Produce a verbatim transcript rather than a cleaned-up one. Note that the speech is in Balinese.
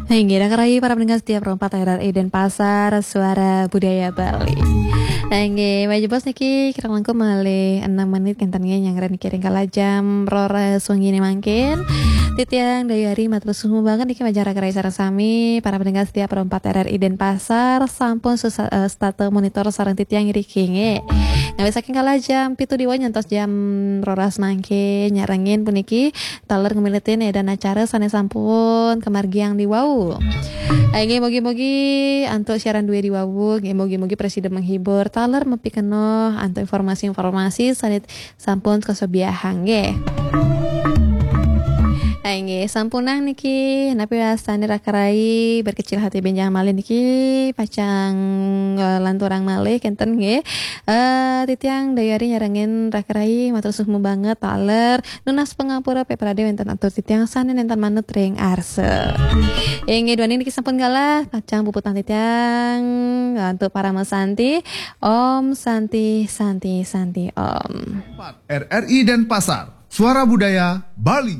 Inggih, dah kerai para pendengar setia Pro empat R R I Denpasar, Suara Budaya Bali. Inggih, maju bos niki kira langkung malih enam menit kenten nggih nyanggra niki ring kala jam roras wengi ni mangkin. Titiang Dayu Ari matur suhu banget niki majeng rak kerai sareng sami para pendengar setia Pro empat R R I Denpasar sampun susa, eh, setata monitor sareng titiang iriki nggih. Ngawit saking kala jam pitu diwau nyantos jam roras mangkin nyarengin puniki taler ngemiletin edan acara sane sampun kemargiang diwau. Inggih, mugi-mugi antuk siaran due diwau, inggih, mugi-mugi presida menghibur, taler mapikenoh antuk informasi-informasi sane sampun kasobiahang nggih. Inggih, sampunang niki napi wastane rak kerai berkecil hati benjang malih niki pacang, eh, lanturang malih kenten nggih. Eh, titiang Dayu Ari nyarengin rak kerai matur suhu banget taler nunas pangapura peprade wenten atur titiang sane nenten manut ring arsa. Inggih, duaning niki sampun galah pacang puputang titiang antuk parama santi. Om Santi, Santi, Santi, Om. R R I Denpasar, Suara Budaya Bali.